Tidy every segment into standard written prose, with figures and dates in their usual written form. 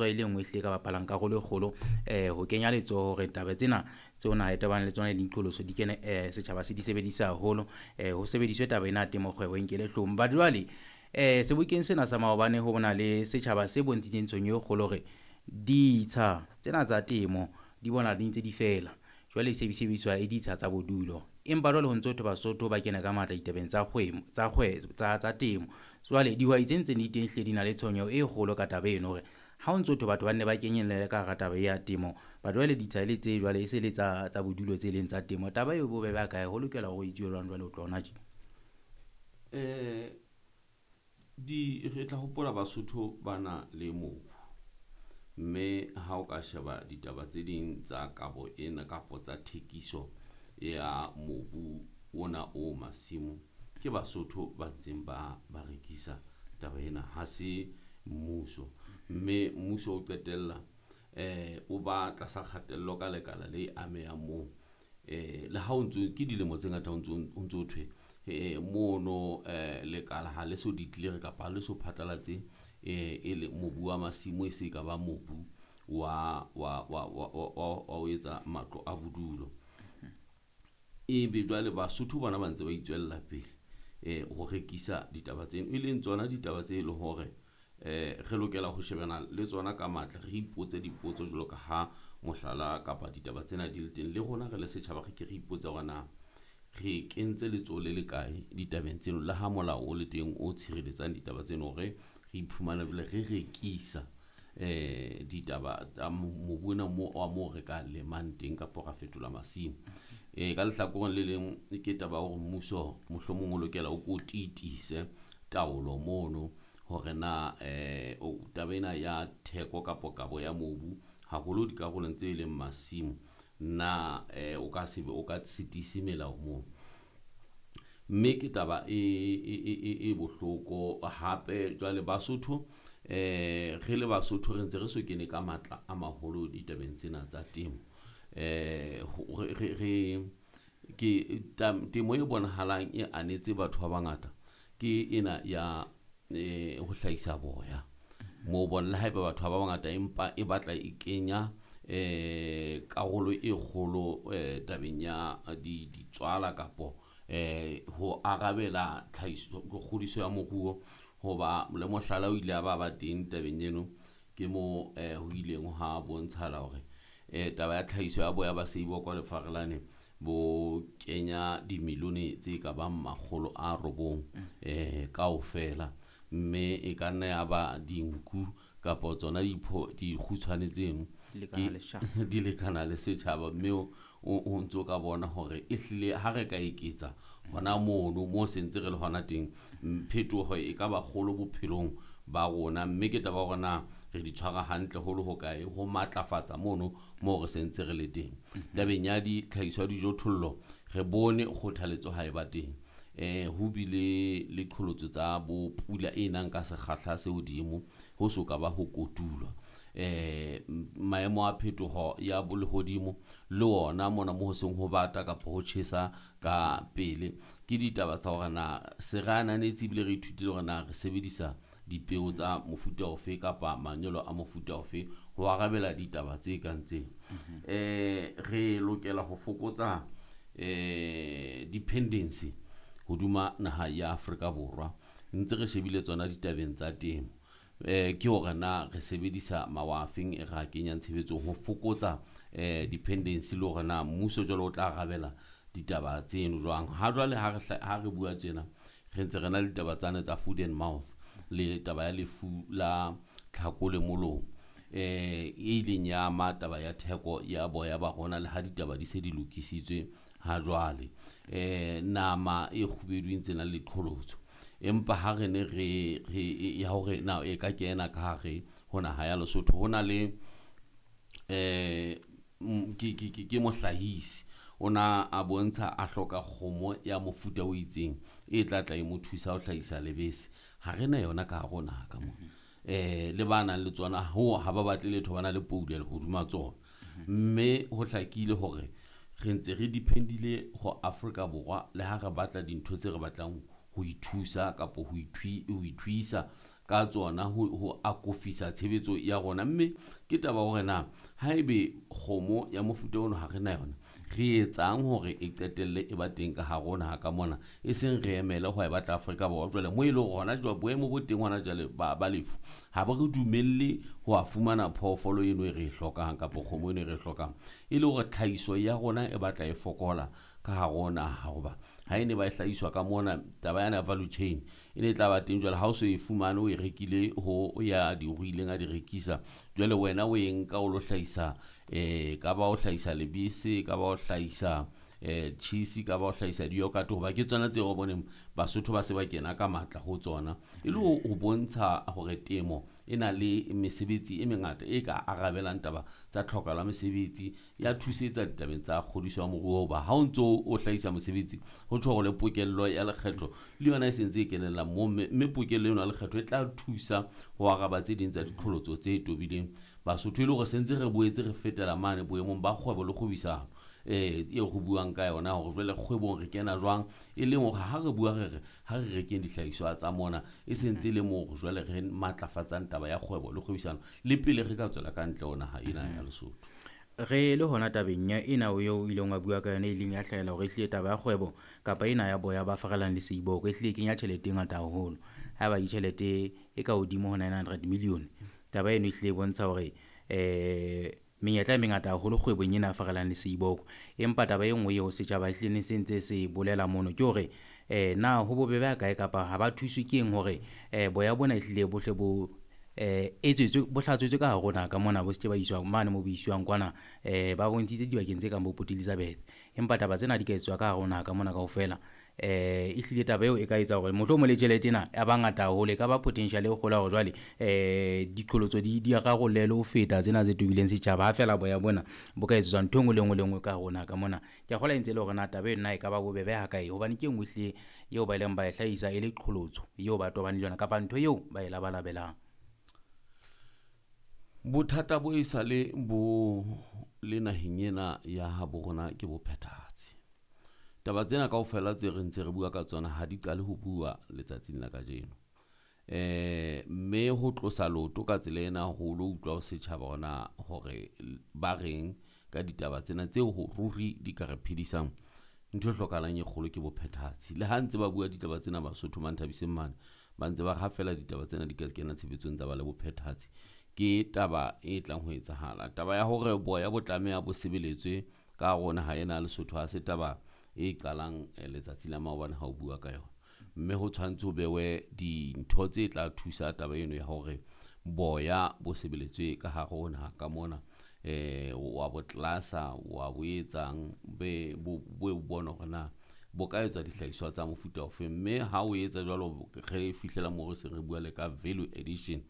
E le nngwe ehlile e ka bapalang karolo e kgolo ho kenya letsoho hore taba tsena tseo naha e tobaneng le tsona le diqholotso di kene setjhaba se di sebedise haholo. Ho sebediswe taba ena ya temo kgwebo e nkele hloohong. But jwale sebokeng sena sa maobane ho na le setjhaba se bontshitseng tshwenyeho e kgolo hore ditsha tsena tsa temo di bona di ntse di fela. Jwale e se sebediswa e ditsha tsa bodulo. Empa jwale ho ntso ho thwe Basotho ba kene ka matla ditabeng tsa tsa tsa tsa temo. Jwale dihwai tse ntseng di teng hlile di na le tshwenyeho e kgolo ka taba eno hore ha o ntso thwe batho ba nne ba kenyelle ka hara taba e ya temo. But jwale ditsha e le tse jwale e se le tsa tsa bodulo tse leng tsa temo. Taba e bobebe ha kae? Ho lokela hore ho etsuwe jwang jwale ho tloha hona tje? Re tla hopola Basotho ba na le mobu, mme ha o ka sheba ditaba tse ding tsa kabo ena kapa tsa thekiso ya mobu ona o masimo, ke Basotho ba ntseng ba ba rekisa taba ena ha se mmuso. Mme mmuso o qetella o ba tlasa kgatello ka lekala le amehang moo. Le ha o ntso ke dilemo tse ngata ho ntso ho ntso thwe mono lekala ha le so declare kapa ha le so phatlalatse e le mobu wa masimo e se ka ba mobu wa ho etsa matlo a bodulo. Ebe jwale Basotho bona ba ntse ba itswella pele ho rekisa ditaba tseno, e leng tsona ditaba tse leng hore re lokela ho shebana le tsona ka matla, re ipotse dipotso jwalo ka ha mohlala kapa ditaba tsena di le teng. Le rona re le setjhaba, re ke re ipotse hore na re kentse letsoho le le kae ditabeng tseno le ha molao o le teng o tshireletsang ditaba tseno hore re iphumane jwale re rekisa ditaba tsa mobu ona mo wa moo re ka lemang teng kapa ra fetola masimo. Ka lehlakoreng le leng ke taba ya hore mmuso mohlomong o lokela o ko tiise taolo mono hore na taba ena ya theko kapa kabo ya mobu haholo dikarolong tse leng masimo na o ka se o ka se tiise melao moo. Mme ke taba e bohloko hape jwale Basotho re le Basotho re ntse re so kene ka matla a maholo ditabeng tsena tsa temo. Re ke temo e bonahalang e anetse batho ba bangata ke ena ya ho hlahisa boya. Moo bona le haeba batho ba bangata empa e batla e kenya karolo e kgolo tabeng ya ditswala kapo ho arabela tlhahiso kgodiso ya moruo. Hoba le mohlala o ile a ba ba teng tabeng eno, ke mo ho ileng ha bontshahala hore taba ya tlhahiso ya boya ba seibo kwa lefarelane bo kenya dimilione tse ka bang makgolo a robong kaofela. Mme e ka nna ya ba dinku kapa tsona dikgutshwane tseno di lekana le setjhaba. Mme o ntso ka bona hore ehlile ha re ka eketsa hona mono mo sentse re le hona teng, phetoho e ka ba kgolo bophelong ba rona. Mme ke taba ya hore na re di tshwara hantle ho le hokae ho matlafatsa mono moo re sentse re le teng. Tabeng ya ditlhahiso ya dijothollo re bone kgothaletso ha e ba teng. Ho bile le qholotso tsa bo pula e nang ka sekgahla se hodimo ho so ka ba ho kotulwa. Maemo a phetoho ya lehodimo le ona mona mo ho seng ho bata kapa ho tjhesa ka pele. Ke ditaba tsa hore na se re ananetse ebile re ithutile hore na re sebedisa dipeo tsa mofuta ofe kapa manyolo a mofuta ofe ho arabela ditaba tse kang tsena. Re lokela ho fokotsa dependency hodima naha ya Afrika Borwa. Ntse re shebile tsona ditabeng tsa temo. Ke hore na re sebedisa mawa a feng e re a kenyang tshebetsong ho fokotsa dependency le hore na mmuso jwale o tla arabela ditaba tseno jwang. Ha jwale ha re ha re bua tjena re ntse re na le ditaba tsane tsa food and mouth le taba ya lefu la tlhako le molomo e ileng ya ama taba ya theko ya boya ba rona le ha ditaba di se di lokisitswe ha jwale. Nama e kgubedu e ntse na le qholotso, empa ha re ne re ya hore na e ka kena ka hare ho naha ya Lesotho ho na le ke mohlahisi o na a bontsha a hloka kgomo ya mofuta o itseng e tla tla e mo thusa ho hlahisa lebese. Ha re na yona ka hare ho naha ka mona. Le ba nang le tsona ho ha ba batle letho, ba na le poulelo hodima tsona. Mme ho hlakile hore re ntse re depend-ile ho Afrika Borwa le ha re batla dintho tse re batlang ho ithusa kapa ho ithuisa. ka tsona ho akofisa tshebetso ya rona. Mme ke taba hore na haebe kgomo ya mofuta ono ha re na yona, re etsang hore e qetelle e ba teng ka hare ho naha ka mona, e seng re emele ho e batla Afrika Borwa. Jwale mo e leng hona jwale boemo bo teng hona jwale ba lefu ha bo re dumelle ho a fumana phoofolo eno e re e hlokang kapa kgomo eno e re e hlokang, e le hore tlhahiso ya rona e batla e fokola ka hare ho naha. Hoba ha e ne ba e hlahiswa ka mona, taba yana ya value chain e ne e tla ba teng. Jwale ha o so e fumane, o e rekile ho ya di ruileng a di rekisa, jwale wena o e nka o lo hlahisa, ka ba o hlahisa lebese, ka ba o hlahisa cheese, ka ba o hlahisa di-yogurt, hoba ke tsona tseo re boneng Basotho ba se ba kena ka matla ho tsona, e le ho bontsha hore temo e na le mesebetsi e mengata e ka arabelang taba tsa tlhokahalo ya mesebetsi, ya thusetsa ditabeng tsa kgodiso ya moruo. Hoba ha o ntso o hlahisa mosebetsi, ho tjho hore le pokello ya lekgetho le yona e sentse e kenella moo, mme pokello eno ya lekgetho e tla thusa ho araba tse ding tsa diqholotso tse tobileng Basotho, e le hore sentse re boetse re fetela mane boemong ba kgwebo le kgwebisano eo re buang ka yona, hore jwale kgwebong re kena jwang, e leng hore ha re bua re re ha re rekeng dihlahiswa tsa mona, e sentse e le moo jwale re matlafatsang taba ya kgwebo le kgwebisano le pele re ka tswela ka ntle ho naha ena ya Lesotho. Re le hona tabeng ya ena eo o ileng wa bua ka yona, e ileng ya hlahela hore ehlile taba ya kgwebo kapa ena ya boya ba farelang le seiboko ehlile e kenya tjhelete e ngata haholo. Haeba ke tjhelete e ka hodimo ho 900 million, taba eno ehlile e bontsha hore menyetla e mengata haholo kgwebong ena ya farelang le seiboko. Empa taba e nngwe eo setjhaba ehlile ne se ntse se bolela mono ke hore na ho bobebe ha kae kapa ha ba thuswe ke eng hore boya bona ehlile bohle bo etsetswe bo hlatswetswe ka hare ho naha ka mona, bo se ke ba iswa mane mo bo iswang kwana. Ba bontshitse dibakeng tse kang bo Port Elizabeth, empa taba tsena di ka etswa ka hare ho naha ka mona kaofela. Ehlile taba eo e ka etsa hore mohlomong le tjhelete ena ya ba ngata haholo, e ka ba potential e kgolo ya hore jwale diqholotso di rarollehe le ho feta tsena tse tobileng setjhaba, ha feela boya bona bo ka etsetswa ntho e nngwe le nngwe le nngwe ka hare ho naha ka mona. Ke a kgolwa e ntse e le hore na taba eno na e ka ba bobebe ha kae, hobane ke e nngwe ehlile eo ba ileng ba e hlahisa e le qholotso eo ba tobaneng le yona kapa ntho eo ba e labalabelang. Bothata bo e sale bo le naheng ena ya habo rona ke bophethahatsi. Taba tsena kaofela tse re ntse re bua ka tsona ha di qale ho bua letsatsing la kajeno. Mme ho tlosa leoto ka tsela ena ho lo utlwa ho setjhaba hona hore ba reng ka ditaba tsena tseo ho ruri di ka re phedisang. Ntho e hlokahalang e kgolo ke bophethahatsi. Le ha ntse ba bua ditaba tsena Basotho Manthabiseng mane, ba ntse ba re ha feela ditaba tsena di ka kena tshebetsong tsa ba le bophethahatsi, ke taba e tlang ho etsahala. Taba ya hore boya bo tlameha bo sebeletswe ka hare ho naha ena ya Lesotho ha se taba e qalang letsatsi la maobane ha o bua ka yona. Mme ho tshwanetse ho bewe dintho tse tla thusa taba eno ya hore boya bo sebeletswe ka hare ho naha ka mona. Wa bo tlasa, wa bo etsang, be bo bona hore na bo ka etswa dihlahiswa tsa mofuta ofe. Mme ha o etsa jwalo, re fihlela moo re se re bua le ka value addition,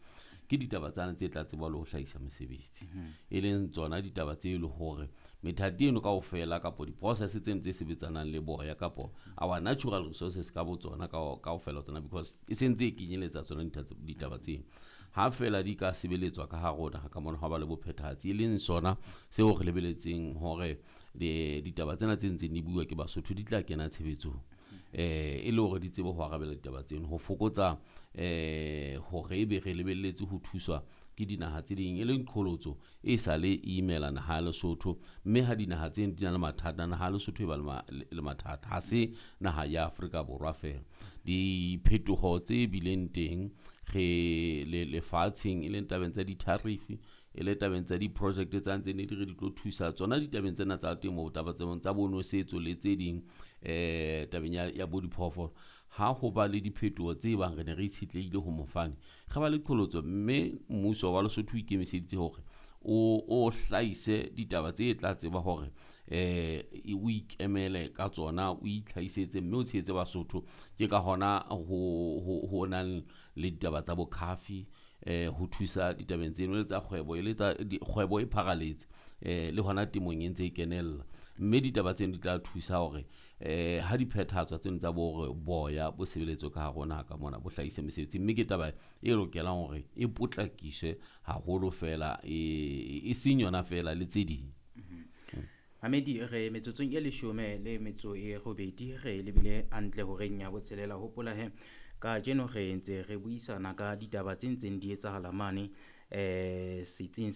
ke ditaba tsana tse tla tseba le ho hlahisa mesebetsi, e leng tsona ditaba tse e leng hore methati eno kaofela kapo di-process tseno tse sebetsanang le boya kapo our natural resources ka bo tsona kaofela tsona, because e sentse e kenyeletsa tsona ditaba tseno. Ha feela di ka sebeletswa ka hare ho naha ka mona, ha ba le bophethahatsi, e leng sona seo re lebeletseng hore ditaba tsena tse ntseng di bua ke Basotho di tla kena tshebetsong, e le hore di tsebe ho arabela ditaba tseno, ho fokotsa hore ebe re lebelletse ho thuswa ke dinaha tse ding, e leng qholotso e sa le imela naha ya Lesotho. Mme ha dinaha tseno di na le mathata, naha ya Lesotho e ba le mathata, ha se naha ya Afrika Borwa feela. Diphetoho tse bileng teng re le lefatsheng, e leng tabeng tsa di-tariff, e le tabeng tsa di-project tsa ntse ne di re di tlo thusa tsona ditabeng tsena tsa temo, taba tsa bonosetso le tse ding, tabeng ya bo diphoofolo. Ha ho ba le diphetoho tse bang re ne re itshetlehile ho mofani, re ba le qholotso, mme mmuso wa Lesotho o ikemiseditse hore o hlahise ditaba tse tla tseba hore o ikemele ka tsona, o itlhahisetse mme o tshehetse Basotho. Ke ka hona ho nang le ditaba tsa bo coffee, ho thusa ditabeng tseno le tsa kgwebo, e le tsa kgwebo e pharaletse, le hona temong e ntse e kenella. Mme ditaba tseno di tla thusa hore ha di phethahatswa tseno tsa bo hore boya bo sebeletswe ka hare ho naha ka mona, bo hlahise mesebetsi. Mme ke taba e lokelang hore e potlakiswe haholo feela, e seng yona feela le tse ding. Mamedi, re metsotsong e 18 re lebile hantle horeng ya botshelela. Hopola he Kajeno re ntse re buisana ka ditaba tse ntseng di etsahala mane setsing sa